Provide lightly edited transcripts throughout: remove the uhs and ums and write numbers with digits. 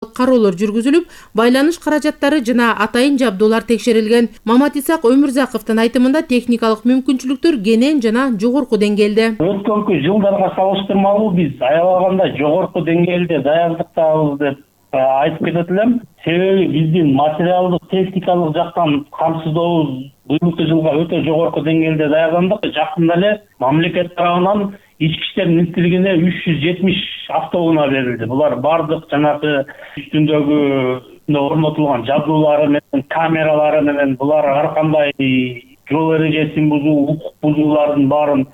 кароолор жүргүзүлүп, байланыш каражаттары жана атайын жабдуулар текшерилген. Маматисак Өмүрзаковдун айтымында техникалык мүмкүнчүлүктөр кенен жана жогорку деңгээлде. Өткөнкү жылдарга салыштырмалуу биз аябаганда жогорку деңгээлде даярдыктабыз деп айтып кетет элем. Себеби биздин материалдык техникалык жактан камсыздообуз быйылкы жылга өтө жогорку деңгээлде даярдандык. Жакында эле мамлекет тарабынан ички иштер министрлигине 370 автоунаа берилди. Булар бардык жанагы үстүндөгү орнотулган жабдуулары менен, камералары менен булар ар кандай жол эрежесин бузуу, укук бузуулардын баарын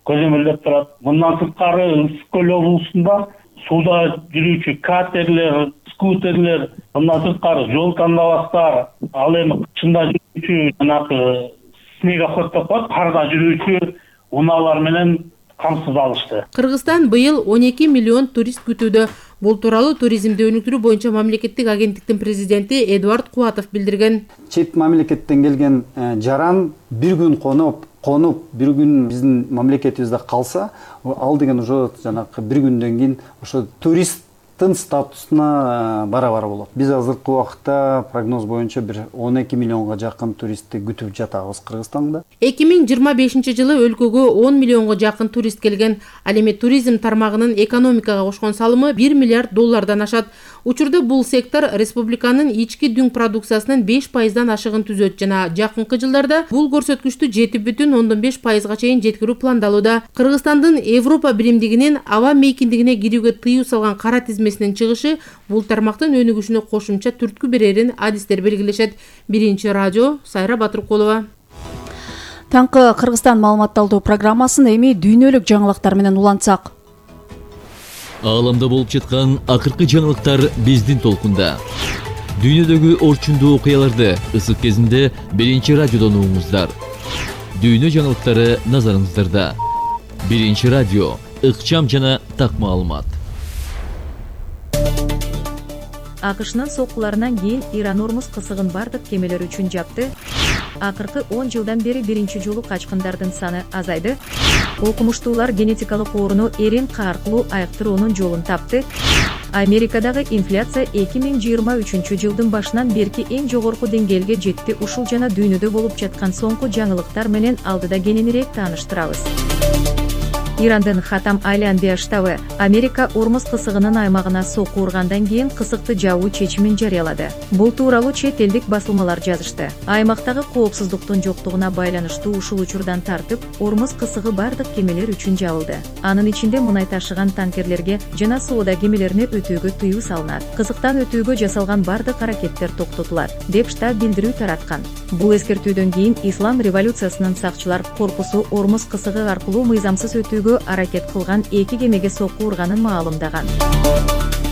көзөмөлдөп турат. Мындан сырткары Ысык көл облусунда сууда жүрүүчү катерлер, скутерлер, мындан сырткары жол тандабастар, ал эми кышында жүрүүчү жанагы снегоход деп коет, карда жүрүүчү унаалар менен камсыз алышты. Кыргызстан быйыл 12 миллион турист күтүүдө. Бул тууралуу туризмди өнүктүрүү боюнча мамлекеттик агенттиктин президенти Эдуард Кубатов билдирген. Чет мамлекеттен келген жаран бир күн конуп, бир күн биздин мамлекетибизде калса, ал деген уже жанагы бир күндөн кийин ошо туристтин статусуна бара болот. Биз азыркы убакытта прогноз боюнча бир 12 миллионго жакын туристти күтүп жатабыз Кыргызстанда. 2025 жылы өлкөгө 10 миллионго жакын турист келген. Ал эми туризм тармагынын экономикага кошкон салымы 1 миллиард доллардан ашат. Учурда бул сектор республиканын ички дүң продукциясынын 5%дан ашыгын түзөт жана жакынкы жылдарда бул көрсөткүчтү 7,5%га чейин жеткирүү пландалууда. Кыргызстандын Европа биримдигинин аба мейкиндигине кирүүгө тыюу салган кара тизмесинин чыгышы бул тармактын өнүгүшүнө кошумча түрткү берерин адистер белгилешет. Биринчи радио Сайра Батыркулова. Таңкы Кыргызстан маалыматталдуу программасын эми дүйнөлүк жаңылыктар менен улантсак. Ааламда болуп жаткан акыркы жаңылыктар биздин толкунда. Дүйнөдөгү орчундуу окуяларды ысык кезинде биринчи радиодон угуңуздар. Дүйнө жаңылыктары назарыңыздарда. Биринчи радио, ыкчам жана так маалымат. АКШнын соккуларынан кийин Иран Ормуз кысыгын бардык кемелер үчүн жапты. Акыркы 10 жылдан бери биринчи жолу качкындардын саны азайды. Окумуштуулар генетикалык ооруну РНК аркылуу айыктыруунун жолун тапты. Америкадагы инфляция 2023 жылдын башынан берки эң жогорку деңгээлге жетти. Ушул жана дүйнөдө болуп жаткан соңку жаңылыктар менен алдыда кененирээк тааныштырабыз. Ирандын Хатам Айланбия штабы Америка Ормуз кысыгынын аймагына сокку ургандан кийин кысыкты жабуу чечимин жарыялады. Бул тууралуу чет элдик басылмалар жазышты. Аймактагы коопсуздуктун жоктугуна байланыштуу ушул учурдан тартып, Ормуз кысыгы бардык кемелер үчүн жабылды. Анын ичинде мунай ташыган танкерлерге жана соода кемелерине өтүүгө тыюу салынат. Кысыктан өтүүгө жасалган бардык аракеттер токтотулат, деп штаб билдирүү тараткан. Бул эскертүүдөн кийин Ислам революциясынын сакчылар корпусу Ормуз кысыгы аркылуу мыйзамсыз өтүүгө аракет кылган 2 кемеге сокку урганын маалымдаган.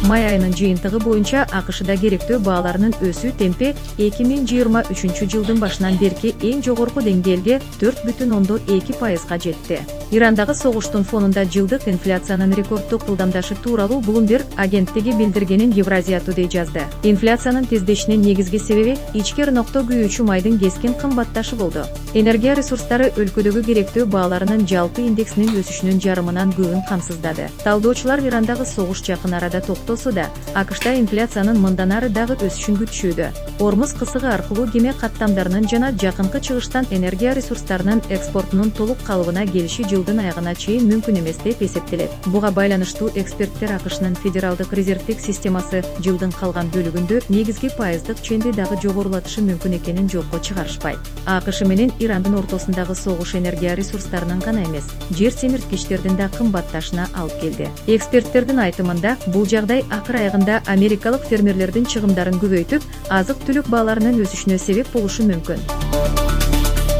Май айынын жыйынтыгы боюнча АКШда керектөө бааларынын өсүү темпи 2023 жылдын башынан берки эң жогорку деңгээлге 4,2%га жетти. Ирандагы согуштун фонунда жылдык инфляциянын рекорддук ылдамдашы тууралуу Bloomberg агенттиги билдиргенин Евразия Today жазды. Инфляциянын тездешинин негизги себеби ички ырнокто күйүүчү майдын кескин кымбатташы болду. Энергия ресурстары өлкөдөгү керектөө бааларынын жалпы индексинин өсүшүнүн жарымынан көбүн камсыздады. Талдоочулар Ирандагы согуш жакын арада токтосо да, АКШда инфляциянын мындан ары дагы өсүшүн күтүшүүдө. Ормуз кысыгы аркылуу кеме каттамдарынын жана жакынкы чыгыштан энергия ресурстарынын экспортунун толук калыбына келиши жылдын аягына чейин мүмкүн эмес деп эсептелет. Буга байланыштуу эксперттер АКШнын федералдык резервдик системасы жылдын калган бөлүгүндө негизги пайыздык ченди дагы жогорулатышы мүмкүн экенин жокко чыгарышпайт. АКШ менен Ирандын ортосундагы согуш энергия ресурстарынын гана эмес, жер семирткичтердин да кымбатташына алып келди. Эксперттердин айтымында, бул жагдай акыр аягында америкалык фермерлердин чыгымдарын көбөйтүп, азык-түлүк бааларынын өсүшүнө себеп болушу мүмкүн.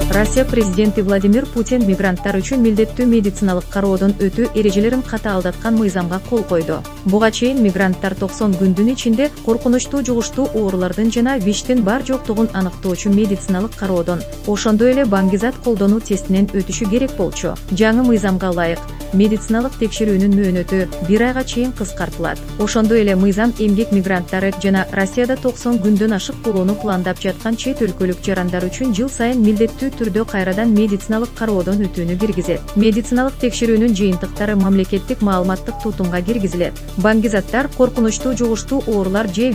Россия президенти Владимир Путин мигранттар үчүн милдеттүү медициналык кароодон өтүү эрежелерин катаалдаткан мыйзамга кол койду. Буга чейин мигранттар 90 күндүн ичинде коркунучтуу жугуштуу оорулардын жана ВИЧтин бар жоктугун аныктоочу медициналык кароодон, ошондой эле баңгизат колдонуу тестинен өтүшү керек болчу. Жаңы мыйзамга ылайык медициналык текшерүүнүн мөөнөтү 1 айга чейин кыскартылат. Ошондой эле мыйзам эмгек мигранттары жана Россияда 90 күндөн ашык болууну пландап жаткан чет өлкөлүк жарандар үчүн жыл сайын милдеттүү түрдө кайрадан медициналык кароодон өтүүнү киргизет. Медициналык текшерүүнүн жыйынтыктары мамлекеттик маалыматтык тутумга киргизилет. Баңгизаттар, коркунучтуу жугуштуу оорулар же